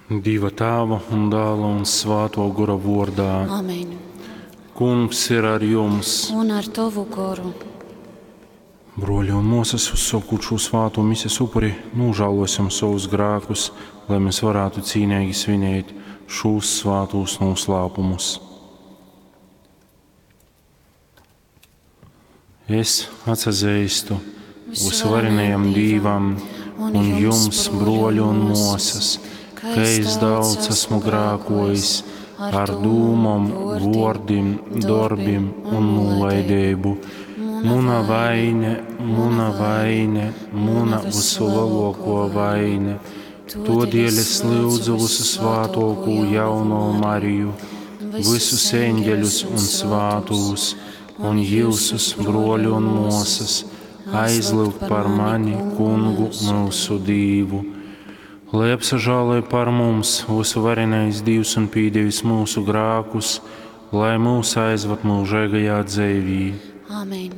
Dieva Tēva un Dēla un Svēto Gora vārdā. Amen. Kungs ir ar jums. Un ar tovu goru. Broļi un māsas, uzsākot šo svāto mises upuri, nožēlosim savus grēkus, lai mēs varētu cīnīgi svinēt šos svātos noslēpumus. Es atsazīstu visvarenajam Dīvam un jums, broļi un māsas, ka es daudz esmu grēkojis ar dūmom, vōrdim, dorbim un nolaidību. Muna vaine, muna vaine, muna visulielāko vaine. Todēļ es lūdzu visu svātokū jauno Mariju, visus eņģeļus un svātūs, un jūsus broļu un mosas, aizlūgt par mani, kungu mūsu Dīvu. Lai apsažāloj par mums visu varenais Dievs un pīdevis mūsu grākus, lai mūs aizvad mūžīgajā dzīvī. Amen.